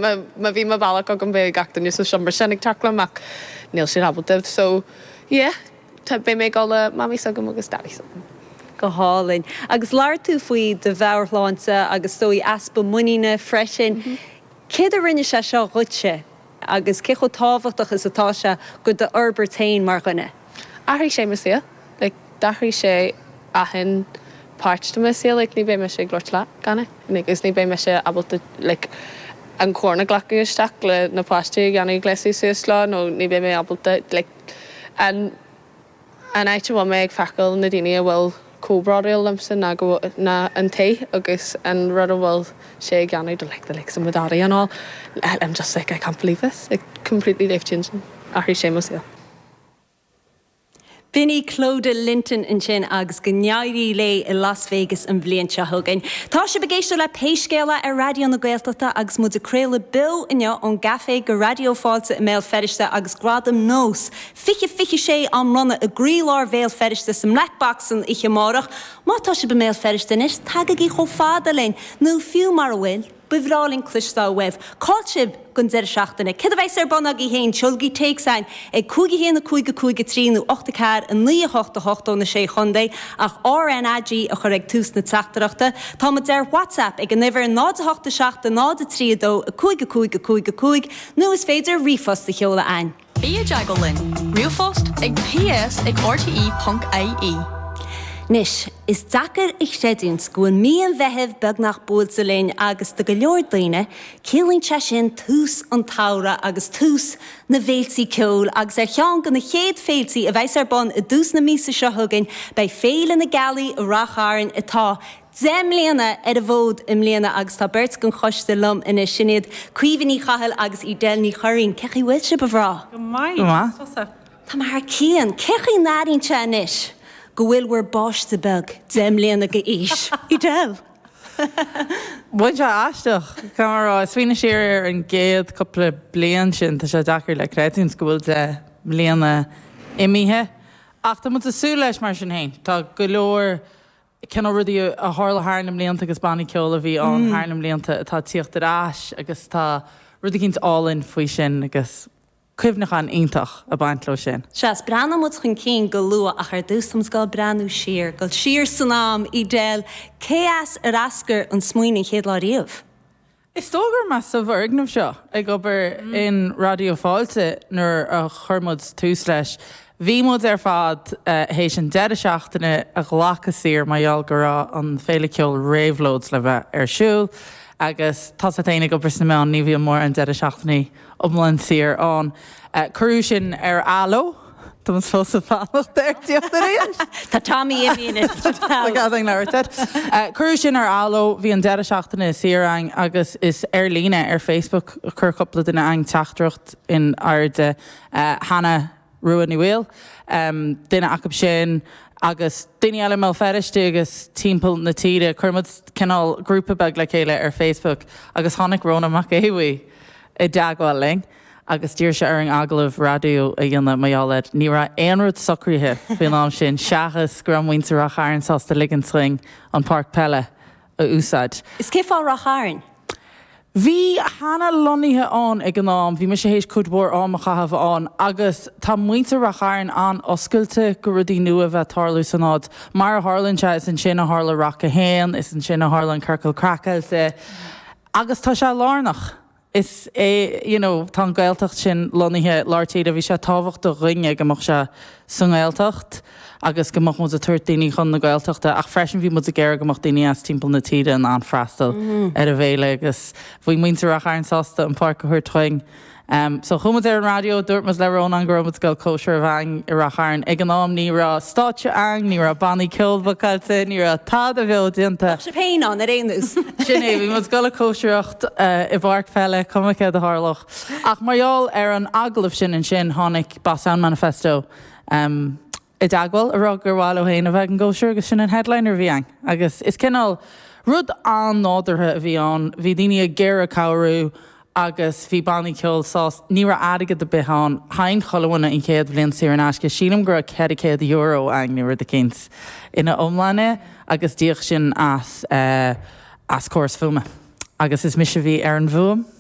Má bhí mo bhealach agam bheadh gach duine sa seomra sin ag teacht liom ach níl siad ábalta. So yeah, beidh mé ag dul le mamaí s'agam agus daidí s'agam. Go hálainn. Agus labhair tú faoi do mheabhairshláinte agus is dóigh easpa muiníne freisin. Céard a rinne sé seo dhuitse agus cé chomh tábhachtach is atá sé do d'fhorbairt féin mar dhuine? Athraigh sé mo saol. Like, d'athraigh sé achan páirt de mo saol. Like, ní bheidh mise ag labhairt leat gan é. Agus ní bheidh mise ábalta, like, an corn a ghlacadh isteach le na páistí a dhéanamh gléasadh suas leo nó ní bheidh mé ábalta, like, an, an áit a bhfuil mé ag feiceáil na daoine a bhfuil chomh bródúil liomsa ná go, ná an tigh agus an rud a bhfuil sé ag déanamh do like the likes of my daddy and all, I'm just like I can't believe this, like completely life changing, athraigh sé mo saol. B'in í Clodagh Linton ansin agus go n-éirí léi i Las Vegas an bhliain seo chugainn. Tá sibh ag éisteacht le Pé Scéal É ar Raidió na Gaeltachta agus muid ag craoladh beo inniu ón gcaifé go Raidió Fáilte i mBéal Feirste agus Gradaim Nós 2026 á mbronnadh i gcroílár Bhéal Feirste sa mBlack Box san oíche amárach. Má tá sibh i mBéal Feirste anois, tagaigí chomh fada linn, nó fiú mara bhfuil, Ba bhreá linn cloisteáil uaibh. Cá bhfuil sibh don deireadh seachtaine? Céard a bheas ar bun agaibh féin? Seolaigí téacs againn ag 5 1 5 5 3 nó 8 4 9 8 8 ó na Sé Chontae ach RnaG a chur ag tús na teachtaireachta. Tá muid ar WhatsApp ag an uimhir 0 8 7 0 3 2 5 5 5 5 nó is féidir ríomhphost a sheoladh againn. Bí i dteagmháil linn, ríomhphost ag ps ag rte ponc ie. Anois, is deacair a chreidiúint go bhfuil mí an Mheithimh beagnach buailte linn agus do go leor daoine, ciallaíonn sé sin tús an tsamhraidh agus tús na bhféiltí ceoil agus ar cheann de na chéad féiltí a bheas ar bun i dtús na míosa seo chugainn beidh Féile na Gealaí i Rath Chairn atá 10 mbliana ar an bhfód i mbliana agus tá beirt den choiste liom anois, sin iad Caoimhe Ní Chathail agus Edel Ní Churraoin. Cén chaoi a bhfuil sibh, a mhná? Go maith, Go maith. Tusa? Tá mé thar cionn. Cén chaoi a n-airíonn sé anois go bhfuil bhur bpáiste beag 10 mbliana d'aois? Edel! Bhfuil sé aisteach, caithfidh mé a rá. Ag smaoineamh siar ar an gcéad cúpla bliain sin, tá sé deacair le creidiúint go bhfuil 10 mbliana imithe. Ach tá muid ag súil leis mar sin féin. Tá go leor cineál rudaí a tharla thar na mblianta agus bannaí ceoil a bhí ann thar na mblianta atá ag tíocht ar ais agus tá rud eicínt álainn faoi sin agus cuimhneachán iontach ag baint leo sin. Sea, is breathnóidh muid chun cinn go luath ach ar dtús tá muid ag dul breathnú siar, dul siar san am, Edel, cé as ar eascair an smaoineamh an chéad lá riamh? Is dóigh go raibh mé sa bhfoirgneamh seo ag obair in Raidió Fáilte nuair a chuir muid tús leis. Bhí muid ar fad théis an deireadh seachtaine a ghlacadh saor mar gheall go raibh an Féile Ceoil Réabhlóid le bheith ar siúl agus tá 's a't fhéin ag obair sna meáin ní bhíonn mórán deireadh seachtainí iomlán saor ann. Cuireadh sin ar athló. Tá muid fós ag fanacht air tíocht arís. Tá Tommy imithe anois. Tá cead againn labhairt air. Cuireadh sin ar athló, bhí an deireadh seachtaine saor againn agus is ar líne ar Facebook a chuir cúpla duine againn teachtaireacht in airde. Hannah Rua Ní Bhaoill, duine acu sin agus daoine eile i mBéal Feirste agus timpeall na tíre. Chuir muid cineál grúpa beag le chéile ar Facebook agus tháinig Rónán Mac Aodha Bhuí i dteagmháil linn. agus d'iarr sé orainn agallamh raidió a dhéanamh mar gheall air. Ní raibh aon rud socraithe faoin am sin seachas go raibh muintir Rath Chairn sásta ligint dúinn an pháirc peile a úsáid. Is cén fáth Rath Chairn? Bhí Hannah lonnaithe ann ag an am, bhí mise théis cuid mhór am a chaitheamh ann agus tá muintir Rath Chairn an-oscailte go rudaí nua a bheith ag tarlú san áit. Mar a tharlaíonn sé, is ansin a tharla Rock 1, is ansin a tharla an Ciorcal Craiceáilte agus tá sé lárnach. Is é, you know, tá an Ghaeltacht sin lonnaithe lár tíre, bhí sé tábhachtach dhúinne go mbeadh sé sa nGaeltacht agus go mbeadh muid ag tabhairt daoine chun na Gaeltachta ach freisin bhí muid ag iarraidh go mbeadh daoine as timpeall na tíre in ann freastal ar an bhféile agus bhí muintir Rath Chairn sásta an pháirc a thabhairt dhuinn. So chuaigh muid ar an raidió, dúirt muid le Rónán go raibh muid ag dul cóisir a bheith againn i Rath Chairn. Ag an am ní raibh stáitse againn, ní raibh bannaí ceoil bookáilte, ní raibh tada beo déanta. Bheadh sibh féin ann ar aon nós. Sin é, bhí muid ag dul ag cóisireacht i bpáirc peile, cuma céard a tharlódh. Ach mar gheall ar an agallamh sin ansin tháinig Boss Sound Manifesto i dteagmháil a rá gur mhaith leo féin a bheith ag an gcóisir agus sin an headliner a bhí againn. Agus is cineál rud an-nádúrtha a bhí ann, bhí daoine ag iarraidh cabhrú agus bhí bannaí ceoil sásta, ní raibh airgead ar bith ann, sheinn chuile dhuine an chéad bhliain saor in aisce, sílim go raibh €400 againn nó rud eicínt ina iomláine agus d'íoc sin as eh as córas fuaime agus is mise a bhí ar an bhfuaim.